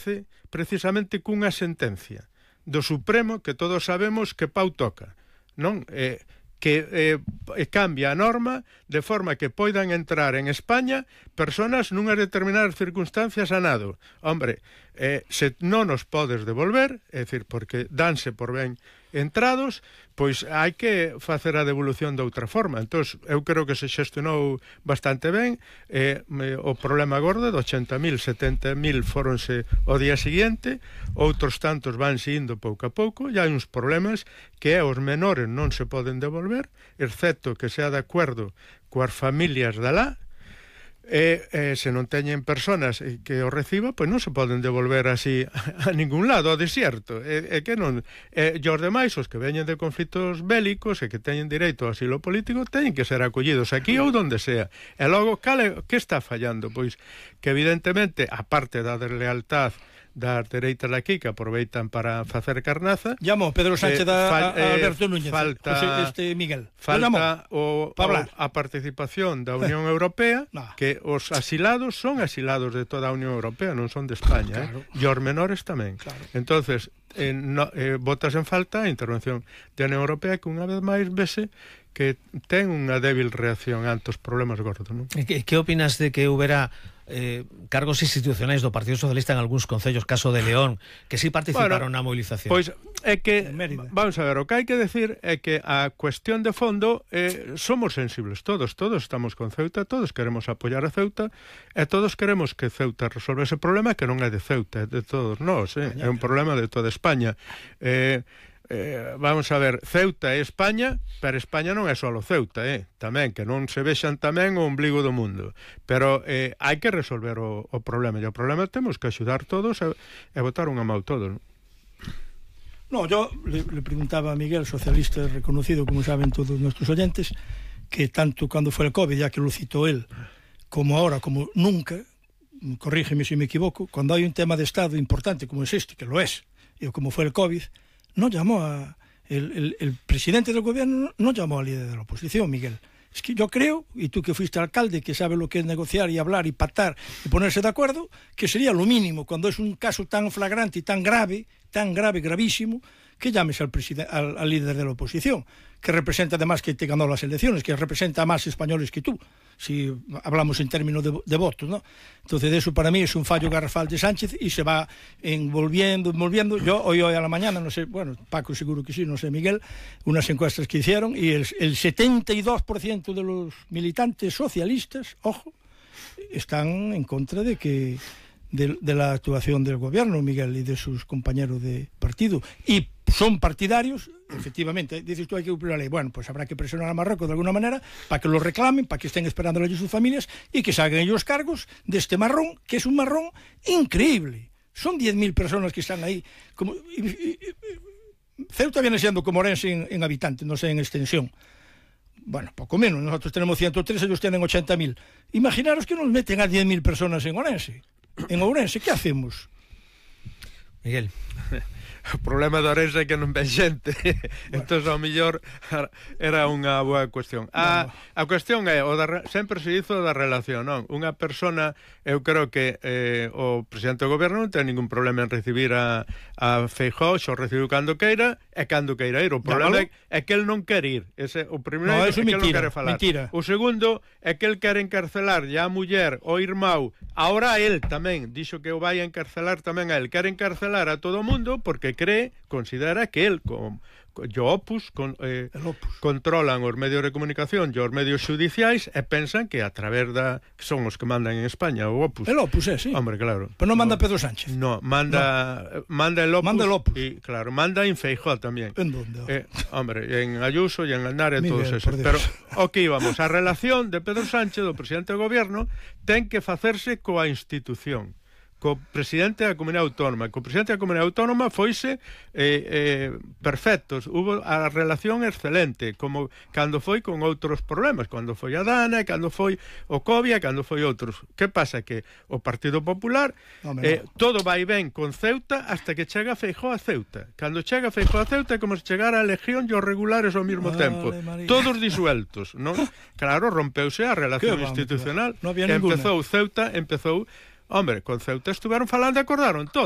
aparece precisamente cunha sentencia do Supremo que todos sabemos que pau toca, non? Que cambia a norma de forma que poidan entrar en España personas nunhas determinadas circunstancias a nado. Hombre, se non nos podes devolver, é dicir, porque danse por ben entrados, pois hai que facer a devolución de outra forma. Entón, eu creo que se xestionou bastante ben. O problema gordo de 80.000, 70.000 foronse o día seguinte, outros tantos vanse indo pouco a pouco, e hai uns problemas que os menores non se poden devolver, excepto que sea de acordo coas familias de lá, se non teñen personas que o reciba, pois non se poden devolver así a ningún lado, ao desierto. Que non, e os demais, os que veñen de conflitos bélicos e que teñen dereito ao asilo político, teñen que ser acollidos aquí ou donde sea. E logo, que está fallando? Pois que evidentemente, a parte da deslealtad das dereitas de aquí que aproveitan para facer carnaza. Llamo Pedro Sánchez a Alberto Núñez, Miguel. Falta a participación da Unión Europea, que os asilados son asilados de toda a Unión Europea, non son de España, claro. E os menores tamén. Claro. Entonces, botas en falta a intervención da Unión Europea, que unha vez máis vese que ten unha débil reacción ante os problemas gordos, non? Que opinas de que houbera cargos institucionais do Partido Socialista en algúns concellos, caso de León, que sí participaron na movilización? Pois é que, vamos a ver, o que hai que decir é que a cuestión de fondo somos sensibles todos estamos con Ceuta, todos queremos apoiar a Ceuta e todos queremos que Ceuta resolva ese problema, que non é de Ceuta, é de todos nós, é un problema de toda España. Vamos a ver, Ceuta é España, pero España non é só Ceuta, tamén, que non se vexan tamén o ombligo do mundo, pero hai que resolver o problema, e o problema temos que axudar todos e botar unha mão todos. No, yo le preguntaba a Miguel, socialista reconocido, como saben todos nuestros oyentes, que tanto cuando fue el COVID, ya que lo citó él, como ahora, como nunca, corrígeme si me equivoco, cuando hay un tema de Estado importante como es este, que lo es, y como fue el COVID, no llamó el presidente del gobierno no llamó al líder de la oposición, Miguel. Es que yo creo, y tú que fuiste alcalde, que sabes lo que es negociar y hablar y pactar y ponerse de acuerdo, que sería lo mínimo cuando es un caso tan flagrante y tan grave, gravísimo, que llames al líder de la oposición, que representa además que te ganó las elecciones, que representa a más españoles que tú, si hablamos en términos de votos, ¿no? Entonces eso para mí es un fallo garrafal de Sánchez y se va envolviendo. Yo hoy a la mañana, no sé, bueno, Paco seguro que sí, no sé, Miguel, unas encuestas que hicieron y el 72% de los militantes socialistas, ojo, están en contra de la actuación del gobierno, Miguel, y de sus compañeros de partido, y son partidarios, efectivamente, dices tú hay que cumplir la ley, bueno, pues habrá que presionar a Marruecos de alguna manera para que lo reclamen, para que estén esperando ellos sus familias y que se hagan ellos cargos de este marrón, que es un marrón increíble. Son 10.000 personas que están ahí. Ceuta viene siendo como Orense en habitantes, no sé, en extensión. Bueno, poco menos, nosotros tenemos 103, ellos tienen 80.000. Imaginaros que nos meten a 10.000 personas en Orense. En Ourense, que hacemos? Miguel. O problema de Ourense é que non ven xente. Entón, ao mellor, era unha boa cuestión. A cuestión é, sempre se hizo da relación, non? Unha persona, eu creo que o presidente do goberno non ten ningún problema en recibir a Feijóo, xo recibiu cando queira, e cando queira ir. O problema é que el non quer ir. O primeiro é que el non quere falar. O segundo é que el quere encarcelar a muller, o irmão, ahora el tamén, dixo que o vai a encarcelar tamén a el. Quere encarcelar a todo o mundo porque considera que el o Opus controlan os medios de comunicación e os medios xudiciais e pensan que a través que son os que mandan en España, o Opus. El Opus, sí. Hombre, claro. Pero non manda Pedro Sánchez. No, manda el Opus. Manda el Opus. Y, claro, manda en Feijóo tamén. ¿En donde? Hombre, en Ayuso e en Andar e todos esos. Pero, aquí vamos, a relación de Pedro Sánchez, do presidente do gobierno, ten que facerse coa institución, co presidente da Comunidade Autónoma. Co presidente da Comunidade Autónoma foise perfectos, hubo a relación excelente, como cando foi con outros problemas, cando foi a Dana, cando foi o Covia, cando foi outros. Que pasa? Que o Partido Popular todo vai ben con Ceuta hasta que chega Feijóo a Ceuta. Cando chega Feijóo a Ceuta é como se chegara a Legión e os regulares ao mesmo tempo, todos disueltos, non? Claro, rompeuse a relación institucional. No había ninguna. Empezou Ceuta, Hombre, con Ceuta estuveron falando e acordaron todo.